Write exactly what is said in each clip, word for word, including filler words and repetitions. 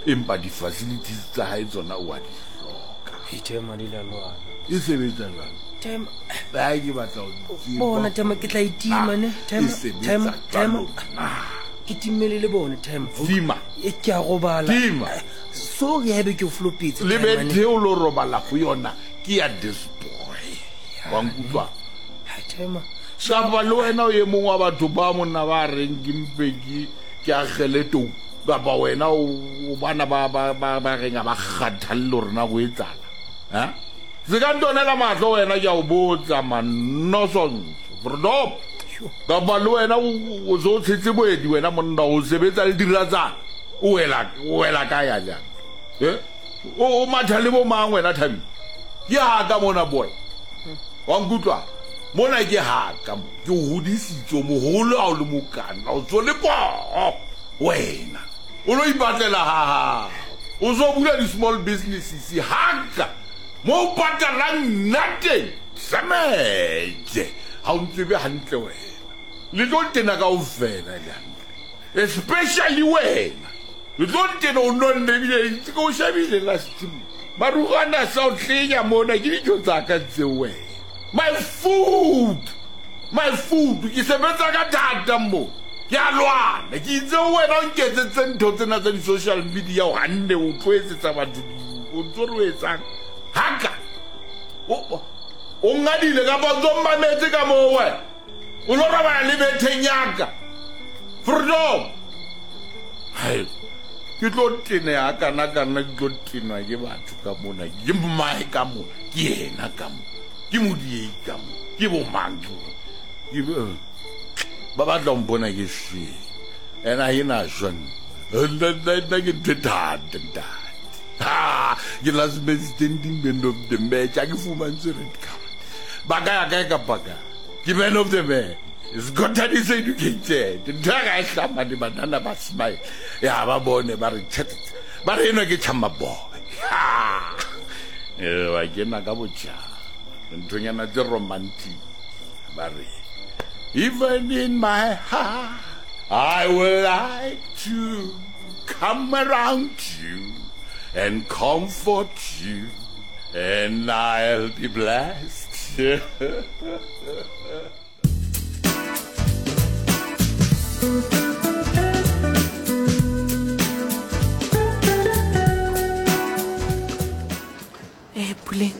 Empa di-facilities tsa hae tsona o a di hloka. Tema di la lwana. E sebetsa jwang? Tema. Ba ke batla ho tseba. Bona Tema ke tla itima ne. Tema. E sebetsa Tema. Tema. jwalo na? Ke timele le bone Tema. Tima. E ke a robala. Tima. Sorry haebe ke o flopetse. Le Tema, ne. bethe o lo robala ho yona ke ya this boy. Wa nkutlwa? Hai, Tema. Kapa le wena o e mong wa batho ba monna ba reng ke mpe ke ke akgele tou. Kapa wena o o bana ba ba ba ba reng ha ba kgathalle hore na ho etsahala. Ha? Se ka ntonela mahlo wena ke a o botsa man nonsense. Verdop. Kapa le wena o o so tshetse boedi wena monna o sebetsa le diratsana. O wela o wela kae ya jang? Eh? O o matha le bo mang wena Thabi? Ke ha ka mona boy. Wa nkutlwa? Mona ke ha ka mo. Ke o hodisitse o moholo ha o le mokana, o tswe le poo. Wena o lo ipatlela ha hao. O so bula di-small businesses ha ka. Mo o patalang nna teng. Tsametse. Ha o ntsebe hantle wena. Le tlo ntena kaofela le hantle. Especially wena. Le tlo ntena o nonne ebile ke o shebile last time. Marukgwana a sa o tlenya mona ke dijo tsa ka tseo wena. My food. My food. Ke sebetsa ka thata mo. Ke a lwana. Ke itse wena o nketsetse ntho tsena tsa di-social media o hanne o tlo etsetsa batho di- o ntso re o etsang. Haka. O, o ngadile kapa o ntso mmametse ka moo wena. O lo robala le betheng ya ka. Freedom. Hai. Ke tlo teneha kana kana ke tlo tenwa ke batho ka mona. Ke mmae ka mona. Ke yena ka mona. Ke modiei ka mona. Ke bo mang ke bo- ke bo- ba batla ho mpona ke shwele. Ena ha e na shwa nna. Nna, nna, nna ke ntho e thata, ntate. Ha, ke last man standing man of the match. Ha ke fumantshwe red card. Ba ka ya kae kapa kae? Ke man of the match. Scotland is educated. Ntho ya ka e hlama le banana ba smile. Ya ba bone ba re tjhe, tjhe, tjhe. Ba re enwa ke Chama boy. Ha. Eh, wa kena ka botjha. Nthonyana tse romantic. Ba re, even in my heart, I would like to come around you and comfort you, and I'll be blessed. Eh, Puleng,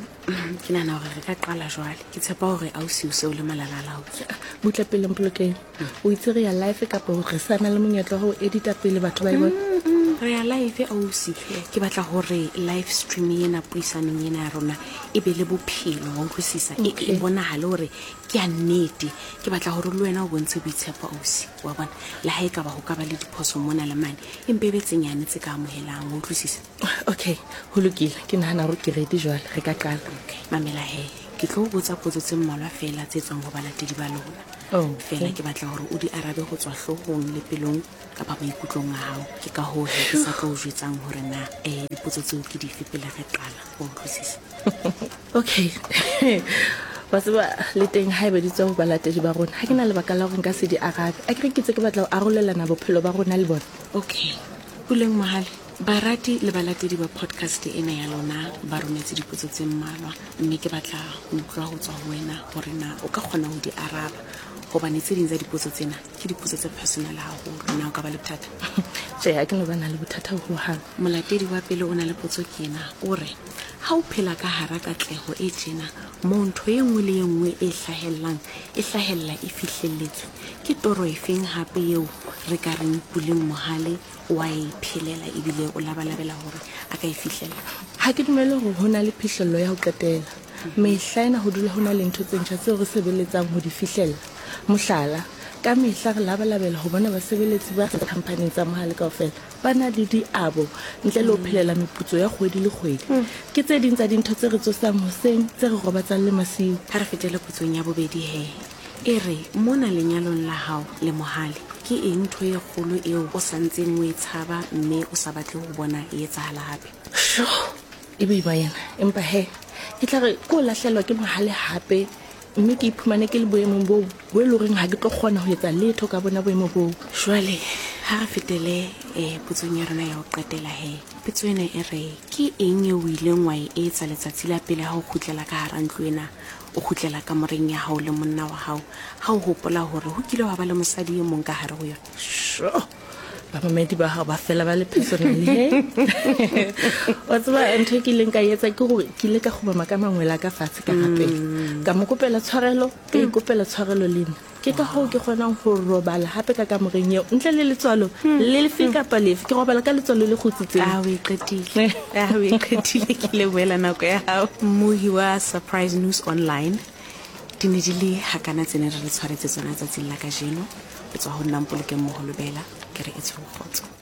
ke nahana hore re ka qala jwale. Ke tshepa hore ausi o se o le malala-a-laotswe. Butle pele Mpolokeng. O itse re ya live kapa hore re sa na le monyetla wa ho edita pele batho ba e bona? Mm, mm, re ya live ausi. Ke batla hore live stream ena puisanong ena ya rona e be le bophelo, wa utlwisisa? E, e Okay. bonahale hore ke ya nnete. Ke batla hore le wena o bontshe boitshepo ausi, wa bona? Le ha e ka ba ho ka ba le diphoso mona le mane, empa e be tse nyane tse ka amohelang, wa utlwisisa? Okay, ho lokile. Ke nahana hore ke ready jwale, re ka qala. Okay, mamela he. Ke tlo o botsa potso tse mmalwa feela tse tswang ho balatedi ba lona. Oh, Feela okay. ke batla hore o di arabe ho tswa hloohong le pelong kapa maikutlong a hao. Ke ka hoo he ke sa tlo o jwetsang hore na, eh, dipotso tseo ke dife pele re qala. Wa utlwisisa? Okay. Wa tseba le teng haeba di tswa ho balatedi ba rona, ha ke na lebaka la hore nka se di arabe. Akere ke tse ke batla ho arolelana bophelo ba rona le bona. Okay. Puleng Mohale, barati le balatedi ba podcast ena ya lona ba rometse dipotso tse mmalwa, mme ke batla ho utlwa ho tswa ho wena hore na o ka kgona ho di araba, hobane tse ding tsa dipotso tsena ke dipotso tse personal haholo. Na o ka ba le bothata? Tjhe, ha ke no ba na le bothata hohang. Molatedi wa pele o na le potso ke ena, o re ha o phela ka hara katleho e tjena, moo ntho e nngwe le e nngwe e hlahellang e hlahella e fihlelletswe, ke toro efeng hape eo re ka reng Puleng Mohale wa e phelela ebile o labalabela hore a ka e fihlella? Ha ke dumele hore ho na le phihlello ya ho qetela. Mehla ena ho dula ho na le ntho tse ntjha tseo re sebeletsang ho di fihlella. Mohlala, ka mehla re labalabela ho bona basebeletsi ba khamphaning tsa Mohale kaofela ba na le diabo ntle le ho phelela meputso ya kgwedi le kgwedi. Ke tse ding tsa dintho tse re tsosang hoseng, tse re robatsang le masiu. Ha re fetele potsong ya bobedi he. E re, mona lenyalong la hao le Mohale, ke eng ntho e kgolo eo o sa ntseng o e tshaba mme o sa batle ho bona e etsahala hape? Sho, e boima yena. Empa he, ke tla re ke o lahlelwa ke Mohale hape, mme ke iphumane ke le boemong boo bo e leng horeng ha ke tlo kgona ho etsa letho ka bona boemo boo. Jwale, ha re fetele, eh, potsong ya rona ya ho qetela he. Petso ena e re ke eng eo o ileng wa e etsa letsatsi la pele ha o kgutlela ka hara ntlo ena, o kgutlela kamoreng ya hao le monna wa hao, ha o hopola hore ho kile wa ba le mosadi e mong ka hare ho yona? Sure. Bamamedi ba hao ba fela ba le personal he. Wa tseba ntho e ke ileng ka e etsa ke hore ke ile ka kgumama ka mangwele a ka fatshe ka rapela. Ka mo kopela tshwarelo, ka ikopela tshwarelo le nna. Ke ka hoo ke kgonang ho robala hape ka kamoreng eo ntle le letswalo le lefe kapa lefe. Ke robala ka letswalo le kgutsitseng. A o e qetile, a o e qetile. Ke lebohela nako ya hao, mmohi wa Surprise News Online. Di ne di le hakana tse ne re le tshwaretse tsona tsatsing la kajeno. Le tswa ho nna Mpolokeng Moholobela, ke re e tshwere kgotso.